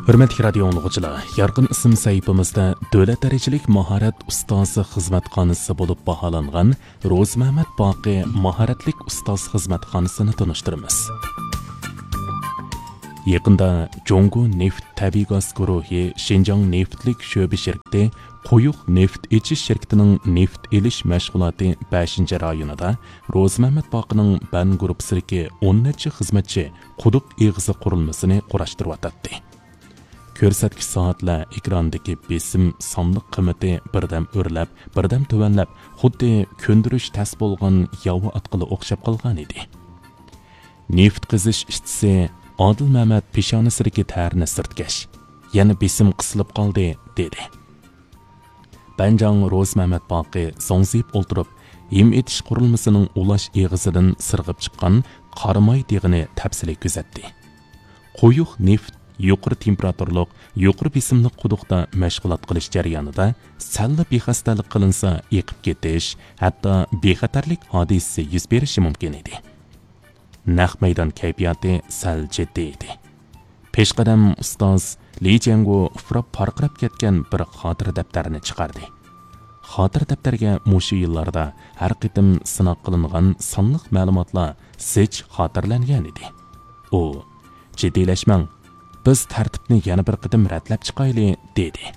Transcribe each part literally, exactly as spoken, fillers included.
ھۆرمەتلىك رادىيو ئاڭلىغۇچىلار، يارقىن ئىسىم سەھىپىمىزدە دۆلەت دەرىجىلىك ماھارەت ئۇستازى خىزمەتخانىسى بولۇپ باھالانغان روزىمەمەت باقى ماھارەتلىك ئۇستاز خىزمەتخانىسىنى تونۇشتۇرىمىز. يېقىندا جۇڭگو نېفىت تەبىئىي گاز گۇرۇھى شىنجاڭ نېفىتلىك شۆبە شىركىتى قويۇق نېفىت ئېچىش شىركىتىنىڭ نېفىت ئېلىش مەشغۇلاتى بەشىنچى رايونىدا روزىمەمەت باقىنىڭ بەن گۇرۇپپىسىدىكى ئون نەچچە خىزمەتچى قۇدۇق ئېغىزى قۇرۇلمىسىنى قۇراشتۇرۇۋاتاتتى. كۆرسەتكۈچ سائەتلەر ئېكراندىكى بېسىم سانلىق قىممىتى بىردەم ئۆرلەپ، بىردەم تۆۋەنلەپ، خۇددى كۆندۈرۈش تەس بولغان ياۋا ئاتقىلى ئوخشاپ قالغان ئىدى. نېفىت قېزىش ئىشچىسى ئادىل مەمەت پېشانىسىدىكى تەرنى سىرتكەش، يەنە بېسىم قىسىلىپ قالدى، دېدى. بەنجاڭ روزىمەمەت باقى زوڭزىيىپ ئولتۇرۇپ، ھىم ئېتىش قۇرۇلمىسىنىڭ ئۇلاش ئېغىزىدىن سىرغىپ چىققان قاراماي دېغىنى تەپسىلىي كۆزەتتى. قويۇق نېفىت يۇقىرى تېمپېراتۇرىلىق، يۇقىرى بېسىملىق قۇدۇقتا مەشغۇلات قىلىش جەريانىدا سەللا بىخەستەلىك قىلىنسا ئېقىپ كېتىش، ھەتتا بىخەتەرلىك ھادىسىسى يۈز بېرىشى مۇمكىن ئىدى. نەق مەيدان كەيپىياتى سەل جىددىي ئىدى. پېشقەدەم ئۇستاز لى جيەنگو ئۇپراپ پارقىراپ كەتكەن بىر خاتىرە دەپتەرنى چىقاردى. خاتىرە دەپتەرگە مۇشۇ يىللاردا ھەر قېتىم سىناق قىلىنغان سانلىق مەلۇماتلار زىچ خاتىرىلەنگەن ئىدى. ئۇ، «جىددىيلەشمەڭ، بىز تەرتىپنى يەنە بىر قېتىم رەتلەپ چىقايلى» دېدى.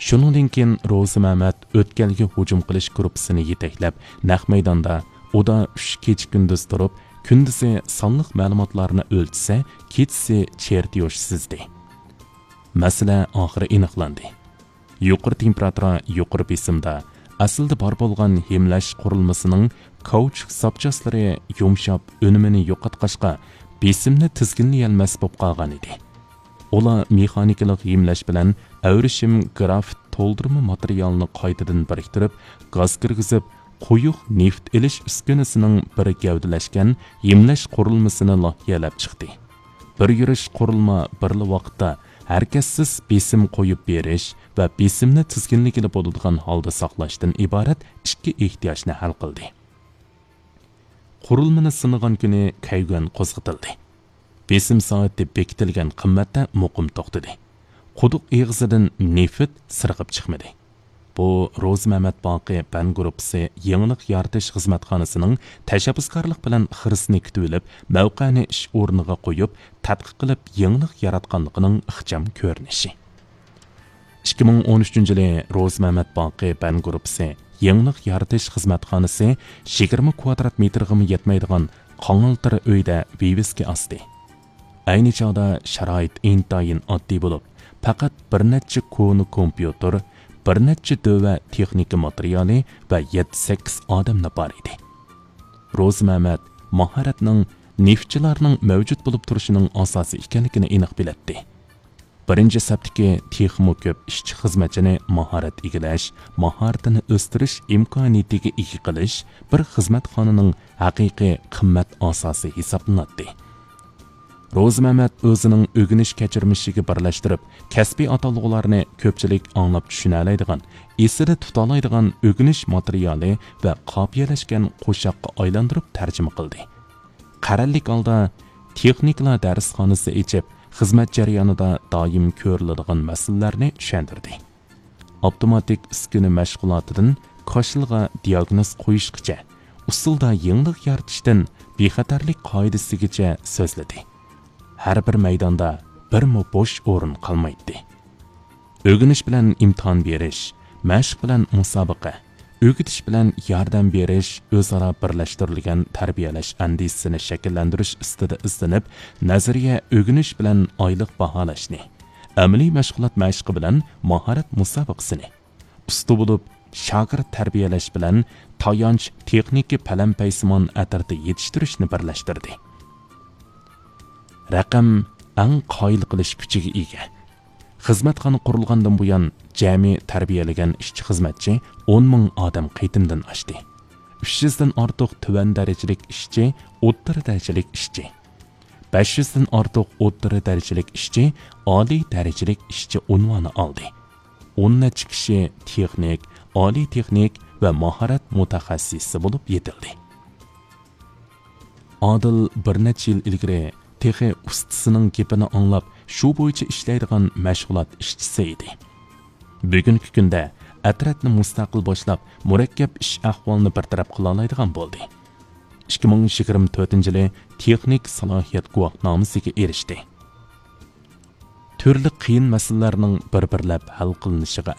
شۇنىڭدىن كېيىن روزى مەمەت ئۆتكەلگە ھۇجۇم قىلىش گۇرۇپپىسىنى يېتەكلەپ، نەق مەيداندا ئۇدا ئۈچ كېچە-كۈندۈز تۇرۇپ، كۈندۈزى سانلىق مەلۇماتلارنى ئۆلچىسە، كېچىسى چېرتيوژ سىزدى. مەسىلە ئاخىرى ئېنىقلاندى. يۇقىرى تېمپېراتۇرا، يۇقىرى بېسىمدا ئەسلىدە بار بولغان ھىملەش قۇرۇلمىسىنىڭ كاۋچۇك زاپچاسلىرى يۇمشاپ، ئۈنۈمىنى يوقاتقاچقا، بېسىمنى تىزگىنلىيەلمەس بولۇپ قالغان ئىدى. ئۇلار مېخانىكىلىق ھىملەش بىلەن ئەۋرىشىم گرافىت تولدۇرما ماتېرىيالنى قايتىدىن بىرىكتۈرۈپ، گاز كىرگۈزۈپ، قويۇق نېفىت ئېلىش ئۈسكۈنىسىنىڭ بىر گەۋدىلەشكەن ھىملەش قۇرۇلمىسىنى لايىھەلەپ چىقتى. بىر يۈرۈش قۇرۇلما بىرلا ۋاقىتتا ھەرىكەتسىز بېسىم قويۇپ بېرىش ۋە بېسىمنى تىزگىنلىگىلى بولىدىغان ھالدا ساقلاشتىن ئىبارەت ئىككى ئېھتىياجنى ھەل قىلدى. قۇرۇلمىنى سىنىغان كۈنى كەيگۈەن قوزغىتىلدى. بېسىم سائىتى بېكىتىلگەن قىممەتتە مۇقىم توختىدى. قۇدۇق ئېغىزىدىن نېفىت سىرغىپ چىقمىدى. بۇ روزى مەمەت باقى بەن گۇرۇپپىسى يېڭىلىق يارىتىش خىزمەتخانىسىنىڭ تەشەببۇسكارلىق بىلەن خىرىسىنى كۈتۈۋېلىپ، مەۋقەنى ئىش ئورنىغا قويۇپ، تەتقىق قىلىپ يېڭىلىق ياراتقانلىقىنىڭ ئىخچام كۆرۈنۈشى. ئىككى مىڭ ئون ئۈچىنچى يىلى روزى مەمەت باقى بەن گۇرۇپپىسى يېڭىلىق يارىتىش خىزمەتخانىسى يىگىرمە كۋادرات مېتىرغىمۇ يەتمەيدىغان قاڭالتىر ئۆيدە ۋىۋىسكا ئاستى. ئەينى چاغدا شارائىت ئىنتايىن ئاددىي بولۇپ، پەقەت بىر نەچچە كونا كومپيۇتېر، بىر نەچچە دۆۋە تېخنىكا ماتېرىيالى ۋە يەتتە-سەككىز ئادەملا بار ئىدى. روزى مەمەت ماھارەتنىڭ نېفىتچىلارنىڭ مەۋجۇت بولۇپ تۇرۇشىنىڭ ئاساسى ئىكەنلىكىنى ئېنىق بىلەتتى. بىرىنچى سەپتىكى تېخىمۇ كۆپ ئىشچى-خىزمەتچىنى ماھارەت ئىگىلەش، ماھارىتىنى ئۆستۈرۈش ئىمكانىيىتىگە ئىگە قىلىش بىر خىزمەتخانىنىڭ ھەقىقىي قىممەت ئاساسى ھېسابلىناتتى. روزى مەمەت ئۆزىنىڭ ئۆگىنىش كەچۈرمىشىگە بىرلەشتۈرۈپ، كەسپىي ئاتالغۇلارنى كۆپچىلىك ئاڭلاپ چۈشىنەلەيدىغان، ئېسىدە تۇتالايدىغان ئۆگىنىش ماتېرىيالى ۋە قاپىيەلەشكەن قوشاققا ئايلاندۇرۇپ تەرجىمە قىلدى. قەرەللىك ھالدا تېخنىكىلار دەرسخانىسى ئېچىپ، خىزمەت جەريانىدا دائىم كۆرۈلىدىغان مەسىلىلەرنى چۈشەندۈردى. ئاپتوماتىك ئۈسكۈنە مەشغۇلاتىدىن كاشىلغا دىياگنوز قويۇشقىچە، ئۇسسۇلدا يېڭىلىق يارىتىشتىن بىخەتەرلىك قائىدىسىگىچە سۆزلىدى. ھەر بىر مەيداندا بىرمۇ بوش ئورۇن قالمايتتى. ئۆگىنىش بىلەن ئىمتىھان بېرىش، مەشىق بىلەن مۇسابىقە، ئۆگىتىش بىلەن ياردەم بېرىش ئۆزئارا بىرلەشتۈرۈلگەن تەربىيەلەش ئەندىزىسىنى شەكىللەندۈرۈش ئۈستىدە ئىزدىنىپ، نەزەرىيە ئۆگىنىش بىلەن ئايلىق باھالاشنى، ئەمەلىي مەشغۇلات مەشقى بىلەن ماھارەت مۇسابىقىسىنى، ئۇستا بولۇپ، شاگىرت تەربىيەلەش بىلەن تايانچ تېخنىكا پەلەمپەيسىمان ئەترىتى يېتىشتۈرۈشنى بىرلەشتۈردى. رەقەم ئەڭ قايىل قىلىش كۈچىگە ئىگە. خىزمەتخانا قۇرۇلغاندىن بۇيان، جەمئىي تەربىيەلىگەن ئىشچى-خىزمەتچى ئون مىڭ ئادەم قېتىمدىن ئاشتى. ئۈچ يۈزدىن ئارتۇق تۆۋەن دەرىجىلىك ئىشچى، ئوتتۇرا دەرىجىلىك ئىشچى، بەش يۈزدىن ئارتۇق ئوتتۇرا دەرىجىلىك ئىشچى ئالىي دەرىجىلىك ئىشچى ئۇنۋانى ئالدى. ئون نەچچە كىشى تېخنىك، ئالىي تېخنىك ۋە ماھارەت مۇتەخەسسىسى بولۇپ يېتىلدى. ئادىل بىر نەچچە يىل ئىلگىرى تېخى ئۇستىسىنىڭ گېپىنى ئاڭلاپ، شۇ بويىچە ئىشلەيدىغان مەشغۇلات ئىشچىسى ئىدى. بۈگۈنكى كۈندە ئەترەتنى مۇستەقىل باشلاپ، مۇرەككەپ ئىش ئەھۋالىنى بىر تەرەپ قىلالايدىغان بولدى. ئىككى مىڭ يىگىرمە تۆتىنچى يىلى تېخنىك سالاھىيەت گۇۋاھنامىسىگە ئېرىشتى. تۈرلۈك قىيىن مەسىلىلەرنىڭ بىر-بىرلەپ ھەل قىلىنىشىغا